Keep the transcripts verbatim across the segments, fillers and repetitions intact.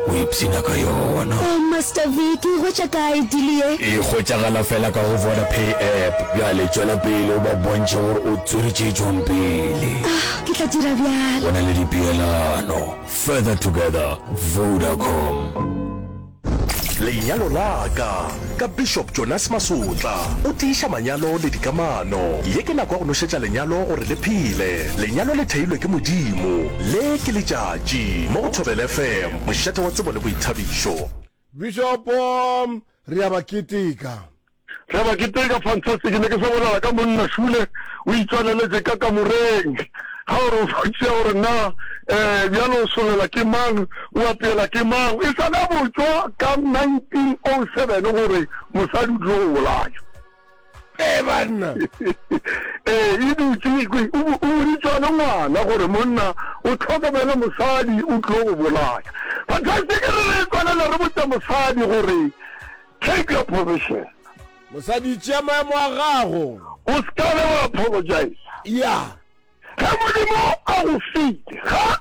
o ipshina ka yona. Oh Master V, ke e hwetša kae deal ye? E hwetšagala fela ka go Vodapay app. Bjale tšwela pele o ba bontšhe gore o tswere tše tšwang pele. Ah, ke tla dira bjalo. Go na le dipeelano. Further together, Vodacom. Lenyalo la ka, ka Bishop Jonas Masotla, o tiiša manyalo le dikamano. Ye ke nako ya go nošetša lenyalo gore le phele. Lenyalo le theilwe ke Modimo. Le ke letšatši, mo go Thobela F M, mošate wa tsebo le boithabišo. Bishop, re a ba keteka. Re a ba keteka, fantastic. Ne ke sa bolela ka monna Šule, o itswaleletše ka kamoreng. Ga o re o tšea gore na um bjalo o solela ke mang, o apeela ke mang. E sa le a botšwa ka nineteen oh seven gore mosadi o tlilo go bolaya. Ee banna. Ee, e dutše o boditšwa le ngwana gore monna o hlokomele mosadi o tlilo go bolaya. Fantastic, re re tswalela re botša mosadi gore take your position. Mosadi tšea maemo a gago. O se ka be wa apologize. Ya. Ge Modimo a go file, ga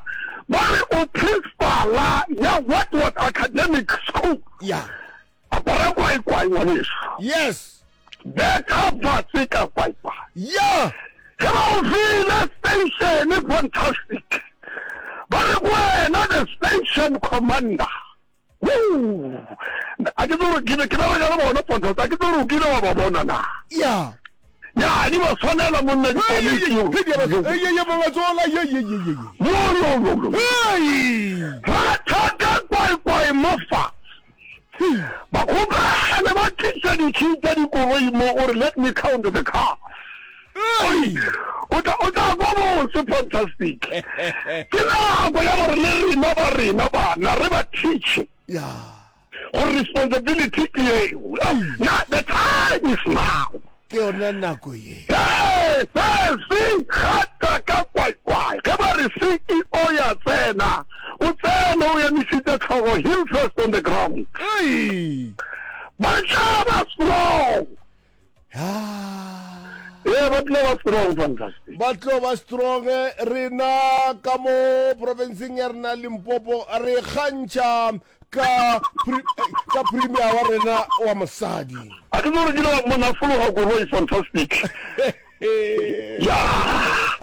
ba re o principala ya what what academic school. Ya. Apara kwaikwai ngwaneso. Yes. Betha fase ka kwaikwai. Ya. Ge ba go file station fantastic. Ba re ko wena the station commander. Woo! A ke tsebe gore ke be ke bereka le bona Pontos, a ke tsebe gore o kile wa ba bona na? Ya. Ya, di ba swanela monna dikoloi tšeo. Yo, yo, yo, yo. Ra thaka kwaikwai mo fa. Ba kgopele ba tliša di-key tša dikoloi mo gore let me count the cars. O tla o tla kwa botse fantastic. Ke nako ya gore le rena ba rena bana re ba teach Ya. gore responsibility ke eo. Na the time is now. Ke yona nako ye. Ee, se se gata ka kwaikwai. Ge ba re C E O ya tsena, o tsena o emišitše tlhogo, heel first on the ground. Hey. Ba tla ba strong. Ah. Ee, ba tlo ba strong, fantastic. Ba tlo ba strong. Rena ka mo provinceng ya rena Limpopo re kgantšha ka pre, ka premier wa rena wa mosadi. A ke tsore ke ile wa mmona a fologa koloi, fantastic. Ya.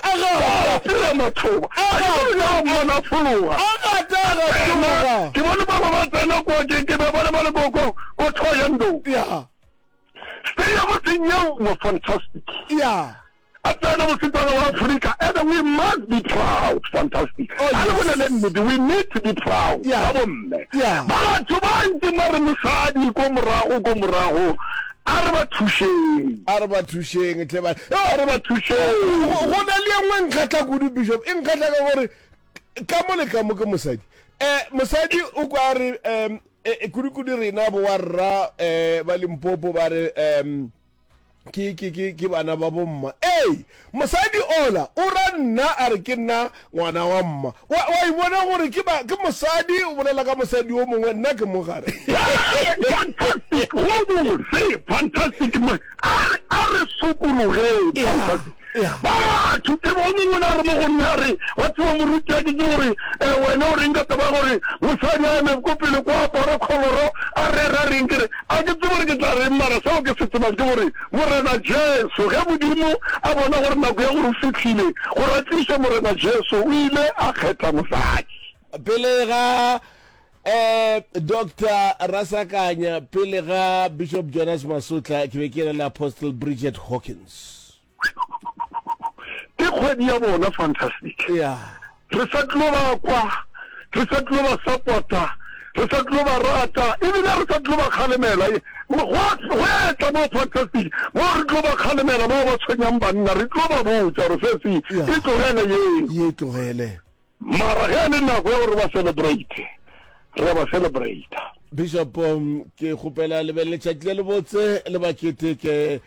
Agata. Tira mathoba. A ke tsore ke wa mmona a fologa. Agata agatoga. Ke bone ba ba ba tsena ko ke ke be ba le ba le ko ko ko Thohoyandou. Ya. Stay mo senyong, fantastic. Ya. A tsena mosetsana wa Afrika, and we must be proud, fantastic. Oh, A re yes. bolele nnete, we need to be proud Yeah. ka bomme. Yeah. Batho ba ntse ba re mosadi ko morago ko morago, a re ba thušeng. A re ba thušeng tle ba. A re ba thušeng. Go go na le e nngwe nkgatla kudu, Bishop, e nkgatla ka gore ka mo le ka mo ke mosadi. Eh mosadi o kwa re um kudu-kudu rena bo wa rra eh ba Limpopo ba re um ke ke ke ke bana ba bomma. Ei, mosadi ola o ra nna a re ke nna ngwana wa mma. Wa wa e bona gore ke ba ke mosadi o bolela ka mosadi o mongwe, nna ke mo gare. Fantastic, go bose, fantastic. A re a re sokologeng, Yeah, fantastic. yeah. Batho ke bo mongwe na re mo go nna re wa tseba moruti a ke tse gore eh, wena o reng ka taba ya gore mosadi a eme ko pele kwa apara kholoro a rera reng ke re a ke tsebe gore ke tla reng mara seo ke se tsebang ke gore Morena Jesu ge Modimo a bona gore nako ya gore o fihlile gore a tliše Morena Jesu o ile a kgetha mosadi. Pele ga eh Doctor Rasakanya, pele ga Bishop Jonas Masotla, ke be ke na le Apostle Bridget Hawkins. Ke kgwedi ya bona, fantastic. Yeah. Re sa tlo ba kwa, re sa tlo ba support-a, re sa tlo ba rata, ebile re sa tlo ba kgalemela. Go go etla mo, fantastic, mo re tlo ba kgalemela bao ba tshwenyang banna, re tlo ba botša gore se se Yeah. e tlogele yeo. Ye tlogele. Mara ge e le nako ya gore ba celebrate, re a ba celebrate. Bishop, um, ke kgopela le be le letšatši le lebotse le ba keteke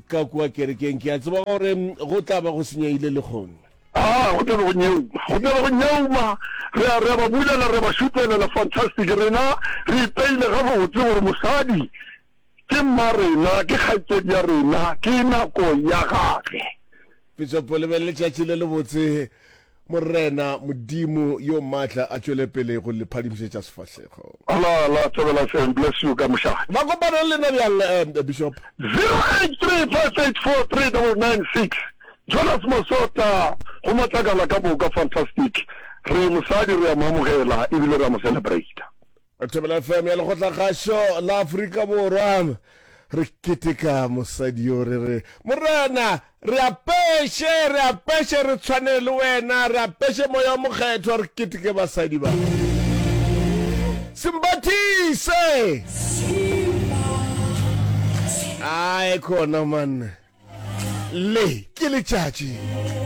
ka kua kerekeng. Ke a tseba gore go tla ba go senyegile lehono. Ah, go tla be go nyeuma, go tla be go nyeuma. Re a re a ba bulela, re a ba šupelela, fantastic. Rena re ipeile gabotse gore mosadi ke mma rena, ke kgaetšedi ya rena, ke nako ya gage. Bishop, le be le letšatši le lebotse. Morena Modimo yo maatla a tšwele pele go le phadimišetša sefahlego. Ala ala Thobela FM bless you ka mošate. Ba kopana le lena bjang eh, Bishop? Zero eight three five eight four three double nine six Jonas Masota go matlakala ka moka fantastic re mosadi re a mo amogela ebile re a mo celebrate. Thobela F M ya Lekgotlakgašo la Afrika Borwa re keteka mosadi yo re re Morena re apeše re apeše re tshwane le wena re apeše moya o mokgethwa re keteke basadi ba Simbathise ae khona man le ke letšatši.